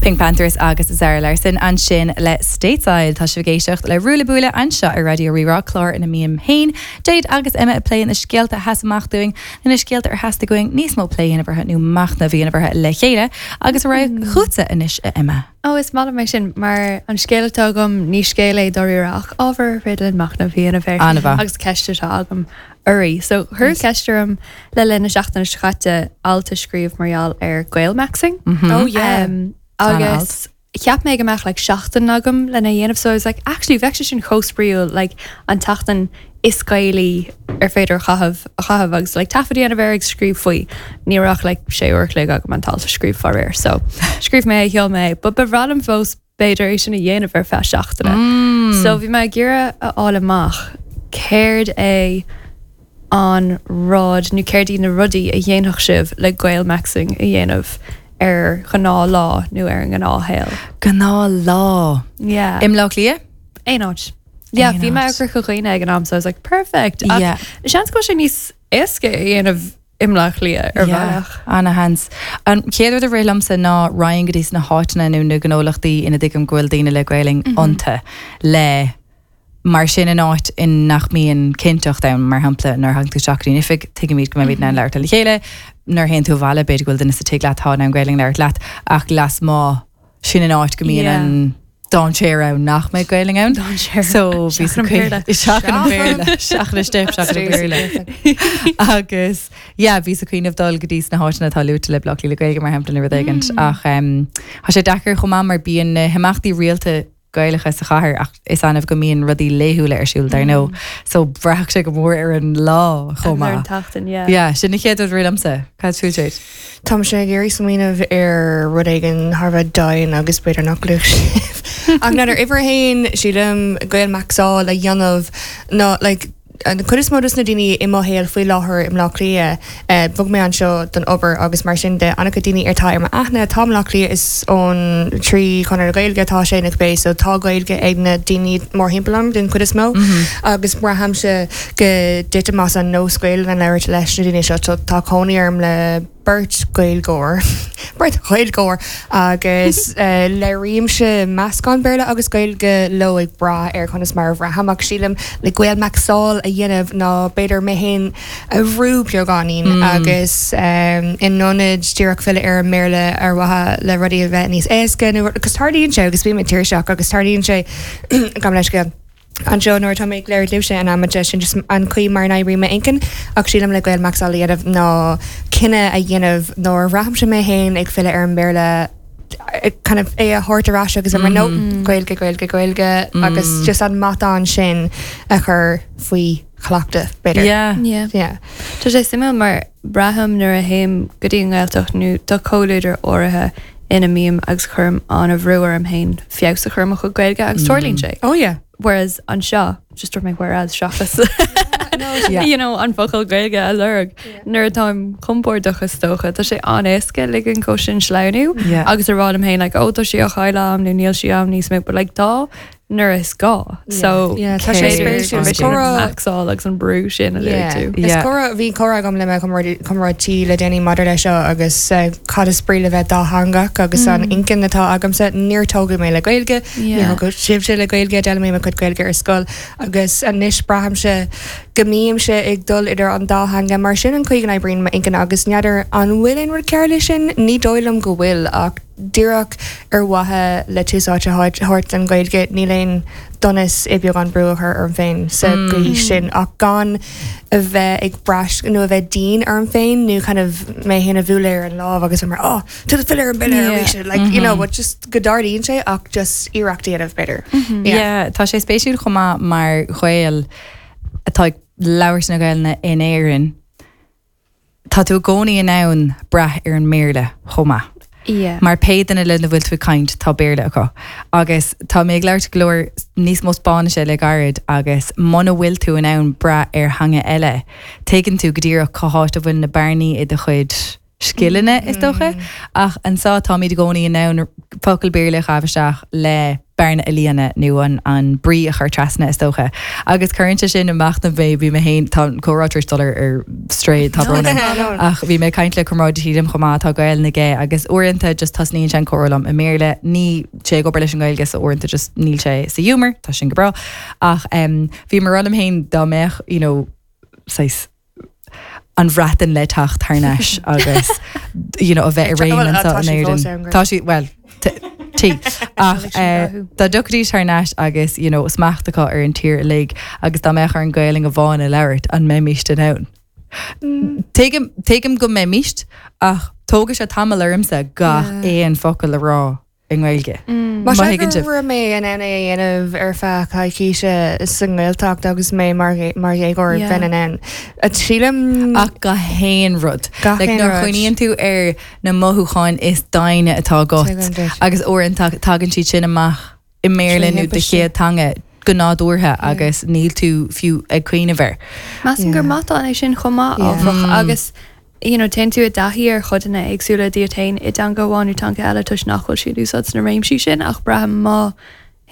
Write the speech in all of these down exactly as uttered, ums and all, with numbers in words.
PinkPantheress agus Zara Larsson ansin le Stateside tá sibh ag éisteacht le Ruaille Buaille anseo ar Raidió Rí-Rá clár ina mbím féin Jade agus Emma ag plé na scéalta a sheas amach dúinn na scéalta ar theastaigh uainn níos mó plé a dhéanamh nó machnamh a dhéanamh le chéile agus ar aghaidh chugatsa anois a Emma. Ó is maith liom é sin mar an scéal atá agam ní scéal é dáiríre ach ábhar féidir linn machnamh a dhéanamh air An-mhaith. agus ceist atá agam oraibh. So chuir ceist orm le linn na seachtaine seo caite alt a scríobh mar gheall ar Gaelmaxxing. Oh yeah. Um, agus cheap mé go mbeadh like seachtain agam lena dhéanamh so I was like actually bheadh sé sin chomh spraíúil like an tseachtain is Gaelaí ar féidir a chaitheamh a chaitheamh agus like taifead a dhéanamh air ag scríobh faoi ní raibh like sé uair chloig agam an t-alt a scríobh faraor so scríobh mé sheol mé but ba bhreá liom fós b'fhéidir é sin a dhéanamh ar feadh seachtaine so bhí mé ag iarraidh a fháil amach céard é an rud nó céard iad na rudaí a dhéanfadh sibh le Gaelmaxxing a dhéanamh ar ghnáthlá nó ar an ngnáthshaol. Gnáthlá. Yeah. I mBleá Cliath? Aon áit. Yeah, Aon bhí mé áit. ag Corca Dhuibhne ag an am so I was like perfect. Ach Yeah. Seans go bhfuil sé níos éasca a dhéanamh i mBleá Cliath ar bhealach. Ana-sheans. An chéad rud a rith liomsa ná raghainn go dtí sna háiteanna nó na gnólachtaí ina dtuigim go bhfuil daoine le Gaelainn iontu le mar sin in áit in nach mbíonn cinnteacht ann mar shampla nuair a thagann tú isteach go dtí an oifig tuigimid go mbeimid in ann labhairt le chéile nuair a théann tú abhaile b'fhéidir go bhfuil duine sa tigh leat atá in ann Gaelainn labhairt leat ach lasmuigh sin in áit go mbíonn Yeah. an dainséar ann nach mbeidh Gaelainn ann. Dainséar. So bhí Seachas an Béarla. Seachas an Béarla seachas step seachas an Béarla. agus yeah, bhí sa cuimhneamh dul go dtí sna háiteanna atá luaite le Bleá Cliath le Gaeilge mar shampla nó rud éigin ach um, Tá sé deacair chomh maith mar bíonn na himeachtaí rialta Gaelacha sa chathair ach is annamh go mbíonn rudaí laethúla ar siúl dar ndóigh. So braitheann sé go mór ar an lá chomh Ar an maith. tseachtain, yeah. Yeah, sin an chéad rud a rith liomsa. Cad fút Jade? Tá sé ag iarraidh smaoineamh ar rud éigin thar a bheith domhain agus b'fhéidir nach luach sibh. Ach n'fheadar uimhir a haon sílim Gaelmaxáil a dhéanamh ná like, an chuid is mó dos na daoine i mo shaol faoi láthair i mBleá Cliath eh, bhog mé anseo don obair agus mar sin de an-chuid daoine atá ar m'aithne tá Bleá Cliath is ón trí Chonradh na Gaeilge atá sé na bé so tá Gaeilge ag na daoine mórthimpeall orm den chuid is mó agus braithimse go dtitim as an nós Gaeilge a labhairt leis na daoine seo tá tá cónaí orm le beirt Gaeilgeoir beirt Ghaeilgeoir agus uh, labhraímse meascán Béarla agus Gaeilge leo ag brath ar conas mar a bhraithim ach sílim le Gaelmaxáil a dhéanamh ná b'fhéidir mé féin a bhrú beagáinín mm. agus um, in ionad díreach filleadh ar an mBéarla ar mhaithe le rudaí a bheith níos éasca nó agus tarlaíonn sé agus bím tuirseach agus tarlaíonn sé gam leis go Anseo nuair tá mé ag labhairt libhse an am sin just an chaoi mar oibríonn m'inchinn ach sílim le Gaelmaxáil a dhéanamh ná cinneadh a dhéanamh nuair a bhraithimse mé féin ag filleadh ar an mBéarla eh, kind of é a thabhairt ar ais agus mar no Gaeilge Gaeilge Gaeilge agus just an matán sin a chur faoi chleachtadh b'fhéidir. Yeah. Yeah. Yeah. Tá sé suimiúil mar braithim nuair a théim go dtí an Ghaeltacht nó tá comhluadar áirithe ina mbím agus cuirim an-bhrú orm féin feabhas a chur ar mo chuid Gaeilge agus tarlaíonn sé. Oh yeah. Whereas anseo just dúirt mé whereas seachas Yeah. you know an focal Gaeilge a lorg nuair atáim compordach is dócha Tá sé an-éasca ligean dó sin sleamhnú Yeah. agus a rá liom féin like oh tá sí á chailleadh nó níl sí am níos mó but like tá nuair is gá so Yeah, tá sé spéisiúil. Is Comhrá- maxáil agus an brú sin a Yeah. tú. Is Yeah. comhrá bhí comhrá agam le mo chomrádaí le déanaí maidir leis seo agus uh, cad is brí le bheith dátheangach agus an inchinn atá agamsa níor tógadh mé le Gaeilge Yeah. níor sibse le Gaeilge d'fhoghlaim mé mo chuid Gaeilge ar scoil agus anois braithimse go mbímse ag dul idir an dá theanga mar sin an chaoi go n-oibríonn m'inchinn agus n'fheadar an bhfuil aon rud cearr leis sin ní dóigh liom go bhfuil ach díreach ar mhaithe le tús áite a thabhairt an Ghaeilge níl aon donas i beagán brú a chur orm féin sa gcaoi sin ach gan a bheith ag brath nó a bheith dian orm féin nó kind of mé féin a bhualadh ar an lámh agus mar oh tú filleadh ar an mBéarla Yeah. arís like you know but just go dtarlaíonn sé ach just iarracht a dhéanamh b'fhéidir. Yeah, tá sé spéisiúil chomh maith mar Ghael atá ag labhairt na Gaeilge in Éirinn. Tá tú i gcónaí in ann brath ar an mBéarla chomh maith. Yeah. Mar pé duine lena bhfuil tú ag caint tá Béarla acu. Agus tá mé ag labhairt go leor níos mó Spáinnise le gairid agus muna bhfuil tú in ann brath ar theanga eile. Tuigeann tú go díreach cá háit a bhfuil na bearnaí i do chuid scileanna is dócha, ach anseo táimid i gcónaí in ann focal Béarla a chaitheamh isteach le bearna a líonadh nó an an brí a chur trasna is dócha. Agus cuireann sé sin amach na bhé bhí mé féin tá comhrá dul ar strae tá brón ach bhí mé caint le comrádaí liom chomh maith tá Gaeilge aige agus uaireanta just tosnaíonn sé an comhrá liom i mBéarla níl sé ag obair leis an Ghaeilge so uaireanta just níl sé sa humor tá sin go breá ach um, bhí mar liom féin dá mbeadh you know, saghas an Bhreatain le teacht thar n-ais agus you know, a bheith i réim anseo in Éirinn. Tá sí well tí ach eh, dá dtiocfaidís thar n-ais agus you know, smacht acu ar an tír uilig agus dá mbeadh orainn Gaeilge amháin a labhairt an mbeimist in ann. Tuigim tuigim go mbeimist ach tógfaidh sé tamall ormsa gach aon focal a rá i nGaeilge. Má raibh mé in ann é a dhéanamh ar feadh coicíse sa nGaeltacht agus mé mar mar dhéagóir bheinn in ann. Sílim ach gach aon rud. Gach Like, aon nuair rud. chuimhníonn tú ar na mothúcháin is doimhne atá agat Tuigim duit. agus uaireanta tagann siad sin amach i mBéarla nó do thimpiste. chéad teanga go nádúrtha agus níl tú fiú ag cuimhneamh air. Measaim gur matán é sin chomh maith Yeah. áfach agus you know, téann tú i dtaithí ar chodanna éagsúla díot féin i dteanga amháin nó teanga eile toisc nach bhfuil siad úsáid sna réimsí sin ach braithim má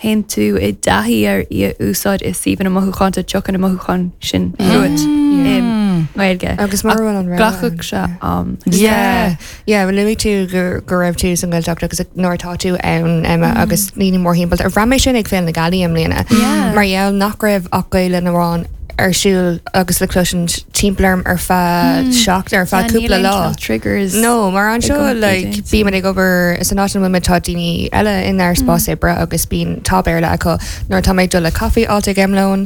théann tú i dtaithí ar í a úsáid i suíomhanna mothúchánta tiocfaidh na mothúcháin sin chugat i nGaeilge. Agus mar bhfuil an rogha Glacfaidh sé am. Yeah. Yeah, well luaigh tú go go raibh tú san Ghaeltacht agus nuair atá tú ann Emma agus daoine mórthimpeall. Ar bhraith mé sin ag Féile na Gealaí i mbliana. Yeah. Mar gheall nach raibh ach Gaeilge amháin ar siúl agus le cloisint timpeall orm ar feadh seacht ar feadh cúpla lá. triggers. No, mar an seo Ag like, daoine. bím ag obair san áit ina bhfuil tá daoine eile inár spás oibre agus bíonn tá Béarla acu nuair tá mé ag dul le caife áit ag am lóin,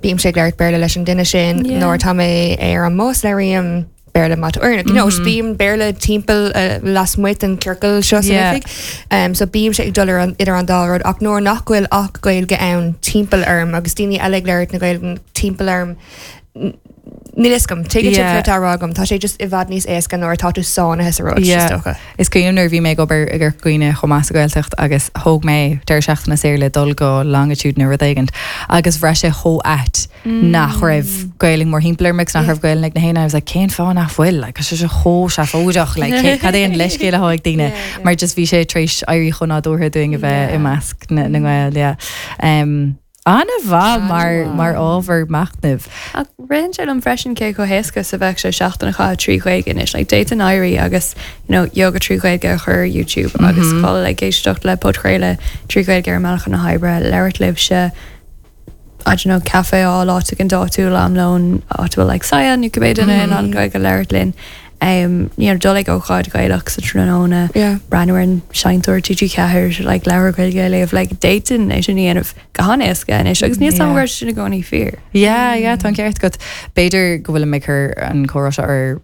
bím ag labhairt Béarla leis an duine sin, Yeah. nuair tá mé ar an mbus labhraím Béarla mat or you know, bím Béarla timpeall uh, lasmuigh den ciorcal seo san Yeah. oifig. Um, so bím sé ag dul ar an idir an dá rud ach nuair nach bhfuil ach Gaeilge ann timpeall orm agus daoine eile ag labhairt na Gaeilge timpeall orm n- Níl a fhios agam tuigeann Yeah. yeah. rá agam tá sé just i bhfad níos éasca nuair atá tú sáinnithe sa rud Yeah. is dócha. Is cuimhin nuair bhí mé ag obair i gCorca Dhuibhne chomh maith sa Ghaeltacht agus thóg mé deireadh seachtaine saor le dul go Longitude nó rud éigin agus bhraith sé chomh ait nach raibh Gaeilge mórthimpeall orm agus nach raibh Gaeilge ag na héinne. I was like cén fáth nach bhfuil like sé sé chomh seafóideach like cé- cad é an leithscéal atá ag daoine mar just bhí sé tar éis éirí chomh nádúrtha dúinn a bheith i measc na na nGael yeah. Um, An-mhaith mar mar ábhar machnaimh. Ach ritheann sé liom freisin cé chomh héasca is a bheadh sé seachtain a chaitheamh trí Ghaeilge anois, like d'fhéadfainn éirí agus you know, yoga trí Ghaeilge a chur ar YouTube agus fáil like éisteacht le podchraoladh trí Ghaeilge ar mbealach na hoibre, labhairt libhse I don't know, caife á áit an dáú am lón áit bhfuil like saia nó cibé duine in ann Gaeilge a labhairt linn. Um, you know, dul ag ócáid Gaelach sa tráthnóna, Yeah. breathnú ar an seinnteoir TG Ceathair like leabhar Gaeilge a léamh like d'fhéadfainn é sin a dhéanamh go han-éasca anois agus níl Yeah. yeah. sin i gcónaí fíor. Yeah, yeah, tá an ceart agat. B'fhéidir go bhfuil mé chur an comhrá seo ar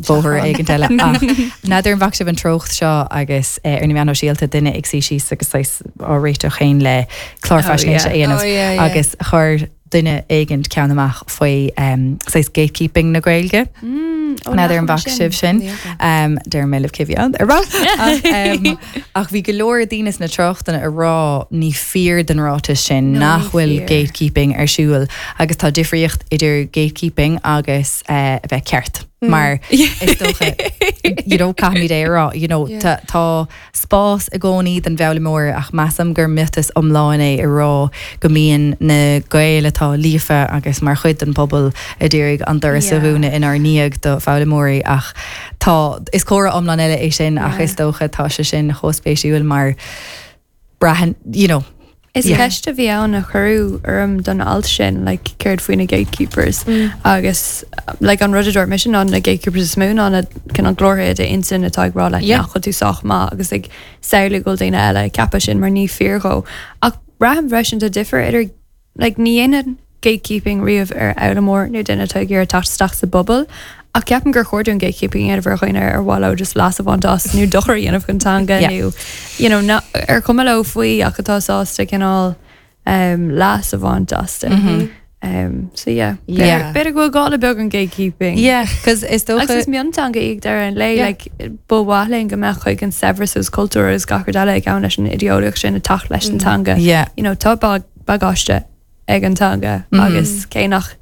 bhóthar éigin eile ach n'fheadar an bhfaca sibh an treocht seo agus eh, ar na meáin shóisialta duine ag suí síos agus saghas á réiteach féin le clár Oh, faisnéise yeah. a dhéanamh Oh, yeah, yeah. agus chuir duine éigin ceann amach faoi um, saghas gatekeeping na Gaeilge. Mm, oh, N'fheadar an bhfaca sibh sin. Um, Deir mé libh cibhean ar ach, um, ach bhí go leor daoine sna tráchtanna ag rá ní fíor den ráiteas sin No, nach ní bhfuil fíor. gatekeeping ar siúl agus tá difríocht idir gatekeeping agus uh, a bheith ceart. Mar is dócha you know, caithfimid é rá you know, Yeah. tá tá spás i gcónaí don bhfoghlaimeoir ach measaim gur miotas iomlán é a rá go mbíonn na Gaeil atá líofa agus mar chuid den pobal a d'iarraidh an doras a Yeah. dhúnadh inár ndiaidh do foghlaimeoirí ach tá is comhrá iomlán eile é sin ach Yeah. is dócha tá sé sin chomh spéisiúil mar braitheann you know, Is Yeah. ceist a bhí ann a cuireadh orm don alt sin like céard faoi na gatekeepers agus like an rud a dúirt mise ná na gatekeepers is mó ná na cineál glórtha i d'intinn atá ag rá like Yeah. nach bhfuil tú sách maith agus ag samhlú go bhfuil daoine eile ag ceapadh sin mar ní fíor dhó. Ach braithim freisin tá difear idir like ní dhéanann gatekeeping riamh ar fhoghlaimeoir nó duine atá ag iarraidh teacht isteach sa bpobal. Ach ceapaim gur chóir dúinn gatekeeping a dhéanamh ar dhaoine ar mhaith leo just leas a bhaint as nó dochar a dhéanamh don teanga Yeah. nó you know, na, ar cuma leo faoi ach atá sásta cineál um, leas a bhaint astu. Um, so yeah, Yeah. B'fhéidir go bhfuil gá le beagán gatekeeping. Yeah, cos is Agus dócha is mionteanga í ag deireadh an lae Yeah. like, ba mhaith linn go mbeadh chuig an saibhreas agus cultúr agus gach rud eile ag gabhann leis an ideolaíocht sin ag teacht leis an teanga. Yeah. You know, tá bag bagáiste ag an teanga agus cé nach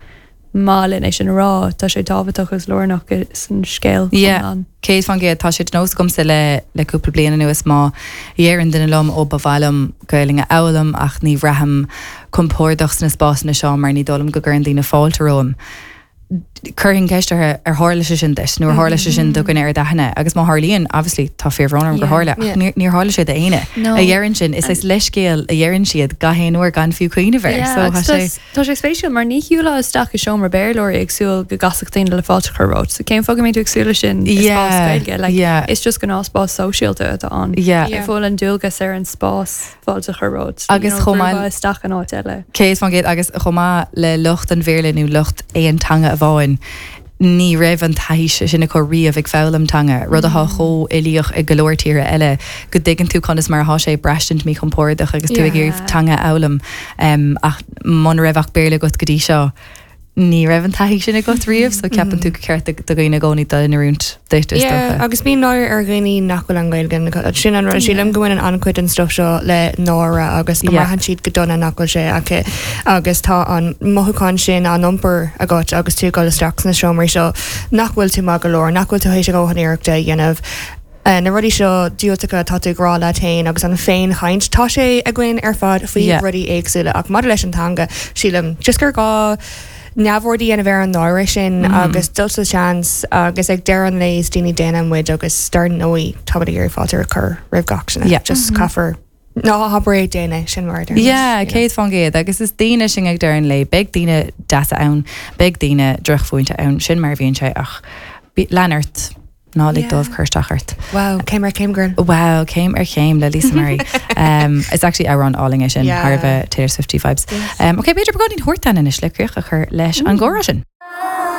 maith linn é sin a rá tá sé tábhachtach agus lárnach san scéal Yeah. iomlán. Céad faoin gcéad tá sé de nós agamsa le le cúpla bliain anuas má dheireann duine liom ó ba mhaith liom Gaeilge a fhoghlaim ach ní bhraithim compordach sna spásanna seo mar ní dóigh liom go gcuireann daoine fáilte romham. Cuirfinn ceist orthu ar tharla sé sin duit, nó ar tharla sé sin do dhuine ar d'aithne, agus má tharlaíonn obviously tá fíorbhrón orm gur Yeah, tharla, ach yeah. níor níor tharla sé d'éinne. No. A dheireann sin is is leithscéal a dheireann siad gach aon uair gan fiú cuimhneamh air. Yeah, So agus tá sé tá sé spéisiúil mar ní shiúlfá isteach i seomra Béarlóirí ag súil go gcasfadh daoine le fáilte a chur romhat, so cén fáth go mbeidh tú ag súil leis sin i spás Yeah, Gaeilge, like, yeah. is just gnáthspás sóisialta atá ann. Yeah. Yeah. Bhfuil an dualgas ar an spás fáilte a chur romhat. Agus chomh maith- isteach an áit eile. Céad faoin gcéad agus chomh maith le lucht an Bhéarla nó lucht aon teanga amháin ní raibh an taithí sin acu riamh ag foghlaim teanga, rud atá chomh uilíoch ag go leor tíortha eile go dtuigeann tú conas mar atá sé braistint míchompordach agus tú ag iarraidh Yeah. teanga a fhoghlaim um, ach muna raibh ach Béarla agat go dtí seo. Ní raibh an taithí sin agat riamh, so ceapann tú gur ceart do dhaoine i gcónaí dul in oiriúint duit is Yeah, dócha. agus bíonn náire ar dhaoine nach bhfuil an Ghaeilge sin an rud sílim go bhfuil an-chuid den stuff seo le náire agus go Yeah. mbraitheann siad go dona nach bhfuil sé acu agus tá an mothúchán sin á iompar agat agus tú dul isteach sna seomraí seo nach bhfuil tú maith go leor, nach bhfuil tú théis a dhóthain iarrachta a dhéanamh. Uh, na rudaí seo diúltacha tá tú ag rá leat féin agus an féinchaint tá sé againn ar fad faoi Yeah. rudaí éagsúla ach maidir leis an teanga sílim just gur gá neamhaird a dhéanamh ar an náire sin mm. agus dul sa seans agus ag deireadh an lae is daoine daonna muid agus dar ndóigh tá ag iarraidh fáilte a chur roimh gach duine. Yeah. just caithfear ná habair é déine sin mar a Yeah, céad faoin gcéad agus is daoine sinn ag deireadh an lae, beidh daoine deasa ann, beidh daoine drochmhúinte ann, sin mar a bhíonn sé ach bí- lean ort ná lig Yeah. dóibh cur isteach ort. Wow, céim ar chéim girl. Wow, céim ar chéim le Lisa Murray. um, it's actually amhrán álainn é sin Yeah. thar a bheith Taylor Swifty vibes. Yes. Um, ok, b'fhéidir beagáinín thortán anois le críoch a chur leis an gcomhrá sin.